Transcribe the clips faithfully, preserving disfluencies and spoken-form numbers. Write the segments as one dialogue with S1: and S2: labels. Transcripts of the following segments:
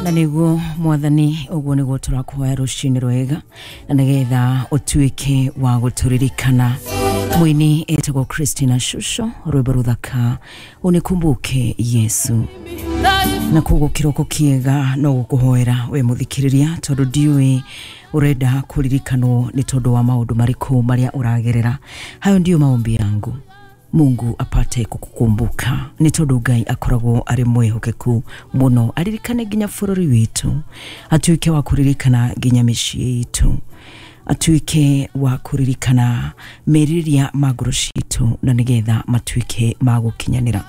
S1: Na nĩguo Mwathani, ũguo nĩguo tũrakuhoya rũcinĩ rwega, na nĩgetha ũtuĩke wa gũtũririkana. Mwini etagwo Christina Shusho, rwĩmbo rũthaka, "Unikumbuke Yesu". Na koguo kĩroko kĩega no gũkũhoera we mũthikĩrĩria, tondũ ndiũĩ ũrenda kũririkanwo nĩ tondũ wa maũndũ marĩkũ marĩa ũragerera. Hayo ndiyo maombi yangu, Mungu apate kukukumbuka, nĩ tondũ Ngai akoragwo arĩ mwĩhokeku mũno. Aririkane nginya bũrũri witũ, atuĩke wa kũririkana nginya mĩciĩ itũ, atuĩke wa kũririkana merirĩria ma ngoro citũ, na nĩgetha matuĩke ma gũkinyanĩra.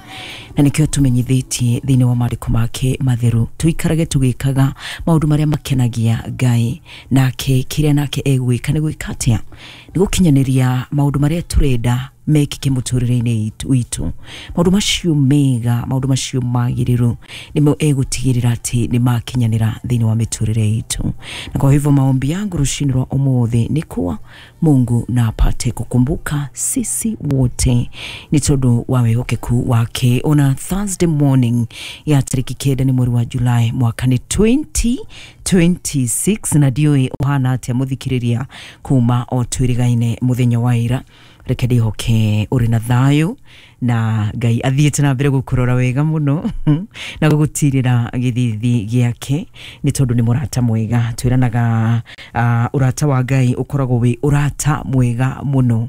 S1: Na nĩkĩo tũmenyithĩtie thĩinĩ wa maandĩko make matheru tũikarage tũgĩkaga maũndũ marĩa makenagia Ngai, nake kĩrĩa nake egwĩka nĩ gwĩka atĩa? Nĩ gũkinyanĩria maũndũ marĩa tũrenda mekĩke mũtũrĩre-inĩ witũ. Maũndũ macio mega, maũndũ macio magĩrĩru, nĩmo egũtigĩrĩra atĩ nĩ makinyanĩra thĩinĩ wa mĩtũrĩre itũ. Na kwa hivyo maombi yangu rũcinĩ rwa ũmũthĩ nĩ kuwa Mungu na apate kukumbuka sisi wote nĩ tondũ wa wĩhokeku wake. Ona Thursday morning ya tarĩki kenda nĩ mweri wa Julai, mwaka nĩ twenty twenty-six, na ndiũĩ ũhana atĩa, mũthikĩrĩria, kuma o twĩrĩgaine mũthenya wa ira. Reke ndĩhoke ũrĩ na thayũ na Ngai athiĩte na mbere gũkũrora wega mũno na gũgũtirĩra gĩthithi gĩake, nĩ tondũ nĩ mũrata mwega. Twĩranaga uh, ũrata wa Ngai ũkoragwo wĩ ũrata mwega mũno,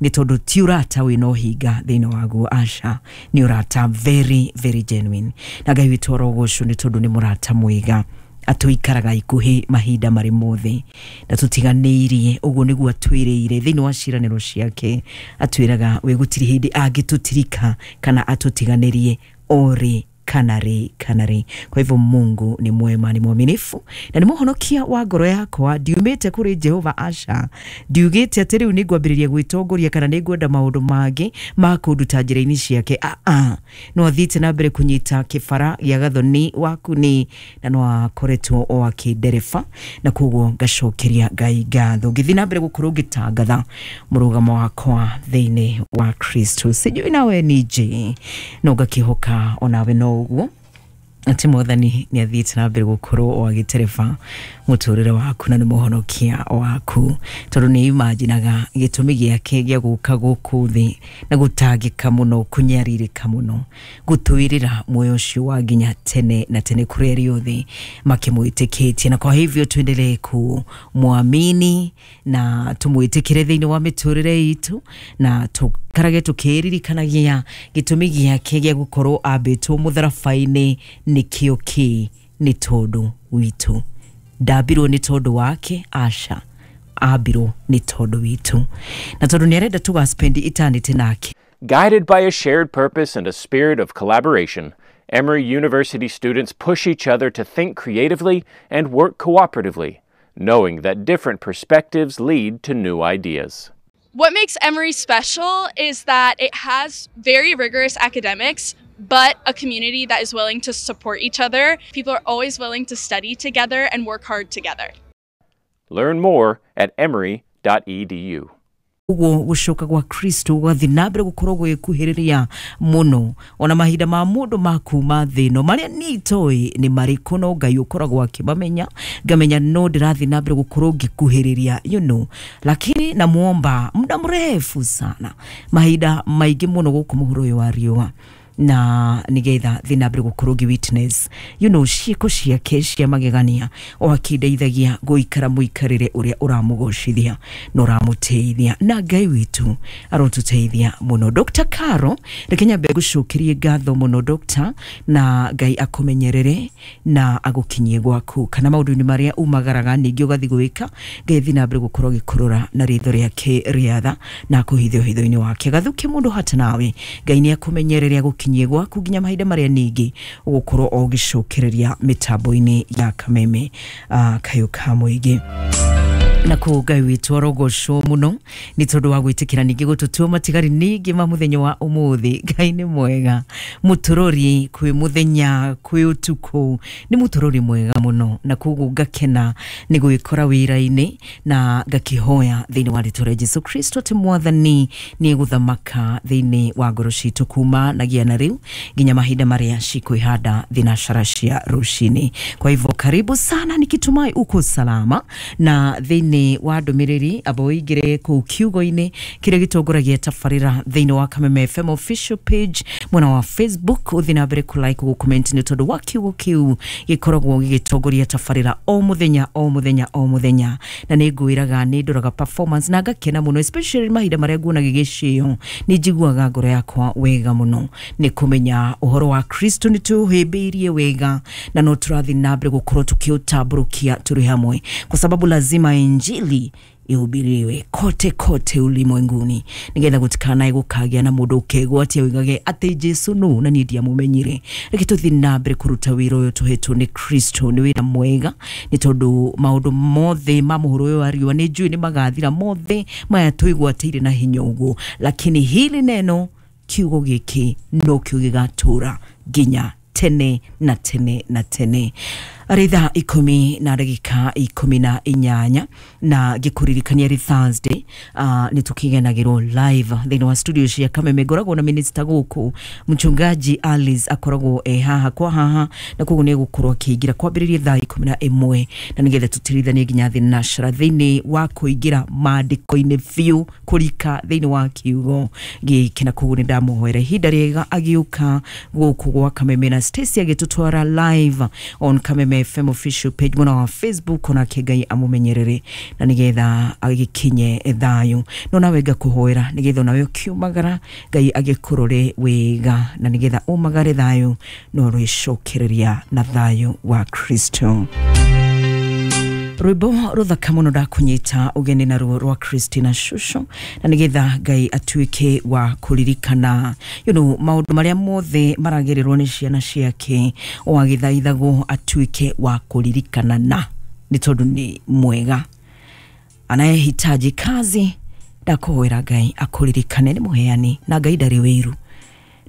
S1: nĩ tondũ ti ũrata wĩna ũhinga thĩinĩ waguo, aca, nĩ ũrata very very genuine. Na Ngai witũ arogocwo nĩ tondũ nĩ mũrata mwega, atũikaraga ikuhĩ mahinda marĩ mothe na tũtiganĩirie. Ũguo nĩguo atwĩrĩire thĩinĩ wa ciĩranĩro ciake, atwĩraga we gũtirĩ hĩndĩ angĩtũtirika kana atũtiganĩrie orĩ kana rĩ kana rĩ. Kwa hivyo Mungu ni mwema, ni mwaminifu na nĩ mũhonokia wa ngoro yakwa. Ndiumĩte kũrĩ Jehova, aca. Ndiugĩte atĩ rĩu nĩ ngwambĩrĩria gwĩtongoria kana nĩ ngwenda maũndũ mangĩ ma kũnduta njĩra-inĩ ciake. Aa, no athiĩte na mbere kũnyita kĩbara gĩa gathoni waku nĩ na no akoretwo o akĩndereba, na koguo ngacokeria Ngai ngatho, ngĩthiĩ na mbere gũkorwo ngĩtangatha mũrũgamo wakwa thĩinĩ wa Kristo. Sijui nawe nije, no ngakĩhoka onawe no ũguo, atĩ Mwathani nĩ athiĩte na mbere gũkorwo o agĩtereba mũtũrĩre waku na nĩ mũhonokia waku, tondũ nĩ imaginaga gĩtũmi gĩake gĩa gũka gũkũ thĩ na gũtangĩka mũno, kũnyarirĩka mũno, gũtwĩrĩra muoyo ũcio wa nginya tene na tene kũrĩ arĩa othe makĩmwĩtĩkĩtie. Na kwa hivyo tuendelee kumwamini na tũmwĩtĩkĩre thĩinĩ wa mĩtũrĩre itũ, na tũkarage tũkĩririkanagia gĩtũmi gĩake gĩa gũkorwo ambĩtwo mũtharaba-inĩ nĩkĩo kĩ? Nĩ tondũ witũ. Ndambirwo nĩ tondũ wake, aca, ambirwo nĩ tondũ witũ, na tondũ nĩ arenda tũga spend eternity nake.
S2: Guided by a shared purpose and a spirit of collaboration, Emory University students push each other to think creatively and work cooperatively, knowing that different perspectives lead to new ideas.
S3: What makes Emory special is that it has very rigorous academics, but a community that is willing to support each other. People are always willing to study together and work hard together.
S2: Learn more at emory dot e d u.
S1: Ũguo gũcoka gwa Kristo gũgathiĩ na mbere gũkorwo gwĩkuhĩrĩria mũno, ona mahinda ma mũndũ ma kuma thĩ ĩno marĩa niĩ itoĩ nĩ marĩkũ, no Ngai ũkoragwo akĩmamenya. Ngamenya no ndĩrathiĩ na mbere gũkorwo ngĩkuhĩrĩria you know lakini namuomba muda mrefu sana, mahinda maingĩ mũno gũkũ mũhuro ũyũ wa riũa, na nigetha thiĩ na mbere gũkorwo ngĩ witness you know ciĩko ciake cia magegania, o akĩndeithagia gũikara mũikarĩre ũrĩa ũramũgocithia na ũramũteithia. Na Ngai witũ arotũteithia mũno. Doctor Caro, reke nyambe ngũcokerie ngatho mũno, Doctor, na Ngai akũmenyerere na agũkinyie gwaku kana maũndũ-inĩ marĩa umagaraga ningĩ ũgathiĩ gwĩka. Ngai thiĩ na mbere gũkorwo agĩkũrora na ritho rĩake rĩa tha na akũhithe ũhitho-inĩ wake gathuke mũndũ hata nawe. Ngai nĩ akũmenyerere, agũkinyie gwaku nginya mahinda marĩa ningĩ ũgũkorwo o ũgĩcokereria mĩtambo-inĩ ya Kameme uh, kayũ ka mũingĩ. Na kũu Ngai witũ arogocwo mũno nĩ tondũ wa gwĩtĩkĩra ningĩ gũtũtua matigari ningĩ ma mũthenya wa ũmũthĩ. Ngai nĩ mwega, mũtũrori kwĩ mũthenya kwĩ ũtukũ, nĩ mũtũrori mwega mũno, na koguo ngakena nĩ gwĩkora wĩra-inĩ na ngakĩhoya thĩinĩ wa rĩtwa rĩa Jesu Kristo atĩ Mwathani nĩ egũthamaka thĩinĩ wa ngoro citũ kuma nagia na rĩu nginya mahinda marĩa cikwĩhanda thinacara cia rũcinĩ. Kwa hivyo karibu sana, nikitumai uko salama na thĩinĩ wa ndũmĩrĩri amba ũingĩre kũu kiugo-inĩ kĩrĩa gĩtongoragia tabarĩra thĩinĩ wa Kameme F M official page mwena wa Facebook, ũthiĩ na mbere kũ like gũ comment nĩ tondũ wa kiugo kĩu gĩkoragwo gĩgĩtongoria tabarĩra o mũthenya o mũthenya o mũthenya, na nĩ ngwĩraga nĩ ndoraga performance na ngakena mũno, especially mahinda marĩa nguona gĩgĩcĩo nĩ njiguaga ngoro yakwa wega mũno nĩ kũmenya ũhoro wa Kristo nĩ tũhĩmbĩirie wega na no tũrathiĩ na mbere gũkorwo tũkĩũtambũrũkia tũrĩ hamwe, kwa sababu lazima injili ihubiriwe kote kote ulimwenguni nigetha gutikanae gukagia na mundu ukegwatia wigage ati Jesu nu na ni ndiamumenyire. Reke tuthi na mbere kuruta wira uyu tuhetwo ni Kristo, ni wira mwega ni tondu maundu mothe ma muhuro uyu wa riua ni njui ni magathira mothe maya twigwatire na hinya uguo, lakini hili neno kiugo giki no kio gigatura nginya tene na tene na tene. Arĩ thaa ikũmi na ndagĩka ikũmi na inyanya na ngĩkũririkania rĩ Thursday uh, nĩ tũkĩgenagĩrwo live thĩinĩ wa studio cia Kameme. Ngoragwo na minister gũkũ mchungaji Alice akoragwo e haha kwa haha, na koguo nĩ egũkorwo akĩingĩra kwambĩrĩria thaa ikũmi na ĩmwe na nĩgetha tũtirithanie nginya thinacara thĩinĩ wa kũingĩra maandĩko-inĩ biũ kũrika thĩinĩ wa kiugo gĩkĩ, na koguo nĩ ndamũhoera ihinda rĩega agĩũka gũkũ gwa Kameme na Stacy agĩtũtwara live on Kameme F M official page mwena wa Facebook, onake Ngai amumenyerere na nigetha agĩkinye thayũ. No nawe ngakũhoera nigetha onawe ũkiumagara Ngai agĩkũrore wega na nigetha umagare thayũ no rwĩcokereria na thayũ wa Kristo. Rwĩmbo rũthaka mũno ndakũnyita ũgeni naruo rwa Christina Shusho na nigetha Ngai atuĩke wa kũririkana you know, maũndũ marĩa mothe maragererwo nĩ ciana ciake o agĩthaithagwo atuĩke wa kũririkana, na nĩ tondũ nĩ mwega. Anayehitaji kazi ndakũhoera Ngai akũririkane, nĩ mũheani na Ngai ndarĩ wĩiru,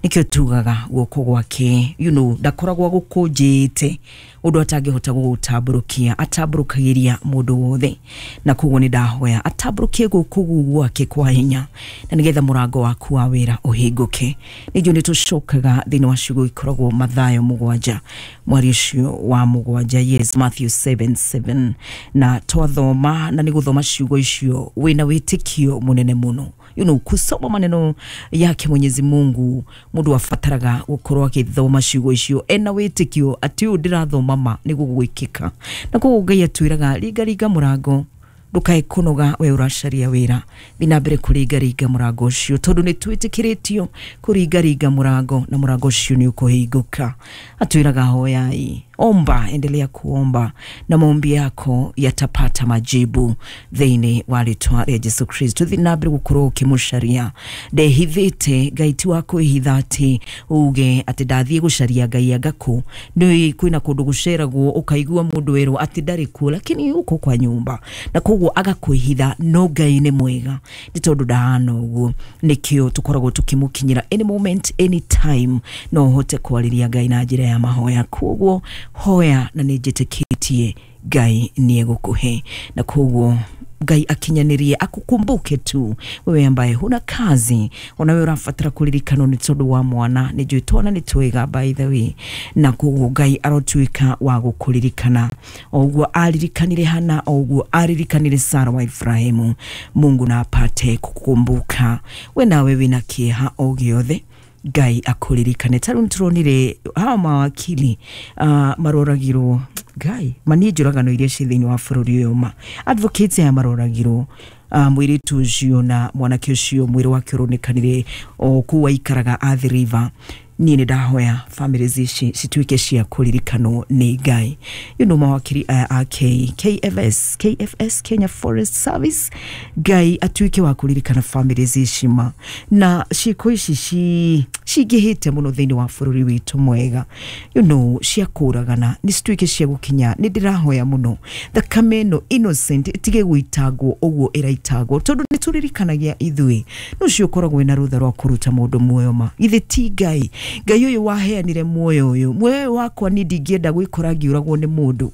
S1: nikio tugaga guoko gwake you know, ndakoragwo agũkũnjĩte ũndũ atangĩhota gũgũtambũrũkia, atambũrũkagĩria mũndũ wothe, na koguo nĩ ndahoya atambũrũkie guoko gwake kwa hinya na nĩgetha mũrango waku wa wĩra ũhingũke. Nĩnjũĩ nĩ tũcokaga thĩinĩ wa ciugo ikoragwo Mathayo mũgwanja mwari ũcio wa mũgwanja, yes, Matthew seven seven, na twathoma na nĩ gũthoma ciugo icio wĩna wĩtĩkio mũnene mũno. You know, kusoma maneno yake Mwenyezi Mungu mundu abataraga gukorwo agithoma ciugo icio ena wĩtĩkio atĩ ũyũ ndĩrathoma ma nĩ gũgwĩkĩka, na koguo Ngai atwĩraga ringaringa mũrango ndukae kũnoga we ũracaria wĩra, thiĩ na mbere kũringaringa mũrango ũcio tondũ nĩ twĩtĩkĩrĩtio kũringaringa mũrango na mũrango ũcio nĩ ũkũhingũka. Atwĩraga hoyai, omba, endelea kuomba na maombi yako yatapata majibu thĩinĩ wa rĩtwa rĩa Jesu Kristo. Thiĩ na mbere gũkorwo ũkĩmũcaria, ndehithĩte Ngai ti wa kwĩhitha atĩ uge atĩ ndathiĩ gũcaria Ngai anga kũ, nĩ kwĩna kũndũ gũceragwo ũkaigua mũndũ werwo atĩ ndarĩ kuo lakini uko kwa nyumba, na koguo agakwĩhitha, no Ngai nĩ mwega nĩ tondũ ndahana ũguo. Nĩkĩo tũkoragwo tũkĩmũkinyĩra any moment any time, no ũhote kwarĩria Ngai na njĩra ya mahoya. Koguo hoya na nĩ njĩtĩkĩtie Ngai nĩ egũkũhe, na koguo Ngai akinyanĩrie akukumbuke tu wewe ambaye huna kazi, onawe ũrabatara kũririkanwo nĩ tondũ wa mwana, nĩ njũĩ twana nĩ twega by the way, na koguo Ngai arotuĩka wa gũkũririkana o ũguo aririkanire Hana, o ũguo aririkanire Sara wa Ibrahimu. Mungu na apate kukumbuka we nawe wĩna kĩeha o gĩothe, Ngai akũririkane. Ta rĩu nĩtũronire hawa mawakili uh, maroragirwo Ngai mani njũragano iria ciĩ thĩinĩ wa bũrũri ũyũ ma advocates aya maroragirwo uh, mũirĩtu ũcio na mwanake ũcio mwĩrĩ wake ũronekanire o kũu aikaraga Athi River. Niĩ nĩ ndahoya families ici cituĩke cia kũririkanwo nĩ Ngai. You know, mawakiri aya a K, KFS, K F S Kenya Forest Service, Ngai atuĩke wa kũririkana families ici ma na ciĩko ici ci Cingĩhĩte mũno thĩinĩ wa bũrũri witũ mwega, you know cia kũragana nĩ cituĩke cia gũkinya. Nĩ ndĩrahoya mũno thakame ĩno innocent ĩtige gũitangwo ũguo ĩraitangwo, tondũ nĩ tũririkanagia ithuĩ no ũcio ũkoragwo wĩna rũtha rwa kũruta mũndũ muoyo. Ma githĩ ti Ngai? Ngai ũyũ waheanire muoyo ũyũ, muoyo ũyũ wakwa niĩ ndingĩenda gwĩkora ngĩũragwo nĩ mũndũ.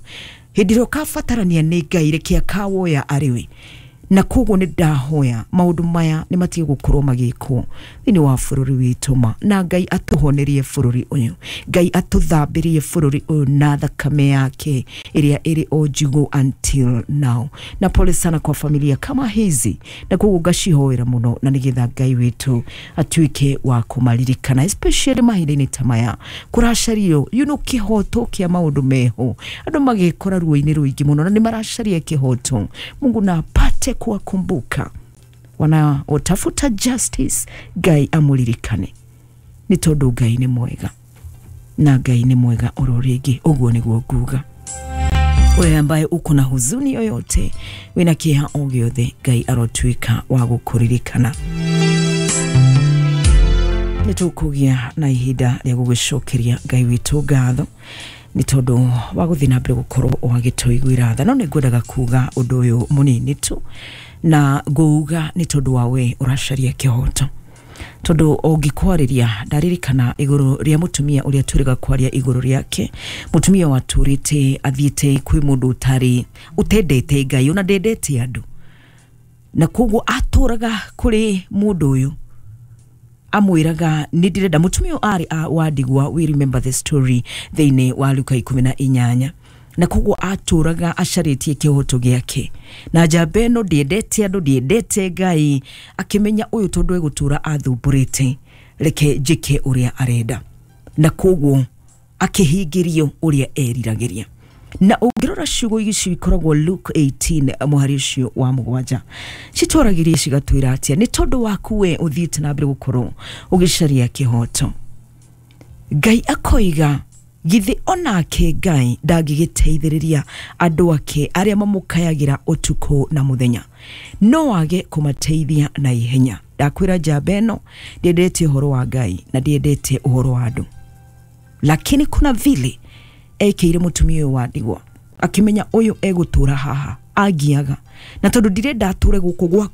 S1: Hĩndĩ ĩrĩa ũkabatarania nĩ Ngai, reke akawoya arĩ we. Na koguo nĩ ndahoya maũndũ maya nĩ matige gũkorwo magĩkwo thĩinĩ wa bũrũri witũ ma, na Ngai atũhonerie bũrũri ũyũ, Ngai atũthambĩrie bũrũri ũyũ na thakame yake ĩrĩa ĩrĩ o njigũ until now. Na pole sana kwa familia kama hizi, na koguo ngacihoera mũno na nĩgetha Ngai witũ atuĩke wa kũmaririkana, especially mahinda-inĩ ta maya kũracario you know kĩhoto kĩa maũndũ meho, andũ magekora ruo-inĩ rũingĩ mũno na nĩ maracaria kĩhoto. Mungu na apate kuwakumbuka wanaotafuta justice. Ngai amuririkane nĩ tondũ Ngai nĩ mwega, na Ngai nĩ mwega oro rĩngĩ. Ũguo nĩguo nguga. Wewe ambaye uko na huzuni yoyote, wĩna kĩeha o gĩothe, Ngai arotuĩka wa gũkũririkana. Nĩ tũkũgĩa na ihinda rĩa gũgĩcokeria Ngai witũ ngatho nĩ tondũ wa gũthiĩ na mbere gũkorwo wagĩtũiguĩra tha. No nĩ ngwendaga kuga ũndũ ũyũ mũnini tu, na ngũuga nĩ tondũ wa we ũracaria kĩhoto, tondũ ũngĩkwarĩria ndaririkana igũrũ rĩa mũtumia ũrĩa tũrĩga kwaria igũrũ rĩake, mũtumia watũrĩte athiĩte kwĩ mũndũ ũtarĩ ũtendete Ngai ona ndendete andũ, na koguo atũraga kũrĩ mũndũ ũyũ amwĩraga nĩ ndĩrenda. Mũtumia ũyũ arĩ a wa ndigwa, we remember the story thĩinĩ wa Luka ikũmi na inyanya, na koguo atũraga acarĩtie kĩhoto gĩake, na njamba ĩno ndĩendete andũ, ndĩendete Ngai, akĩmenya ũyũ tondũ egũtũra athumbũrĩte, reke njĩke ũrĩa arenda, na koguo akĩhingĩrio ũrĩa eriragĩria. Na ũngĩrora ciugo ici ikoragwo Luke eighteen mũhari ũcio wa mũgwanja, citwaragĩria cigatwĩra atĩa? Nĩ tondũ waku we ũthiĩte na mbere gũkorwo ũgĩcaria kĩhoto, Ngai akoiga githĩ onake Ngai ndangĩgĩteithĩrĩria andũ ake arĩa mamũkayagĩra ũtukũ na mũthenya? No age kũmateithia na ihenya? Ndakwĩra njamba ĩno ndĩendete ũhoro wa Ngai na ndĩendete ũhoro wa andũ, lakini kuna vile ekĩire mũtumia ũyũ wa ndigwa, akĩmenya ũyũ egũtũra haha angiaga, na tondũ ndirenda atũre gũkũ gwakwa.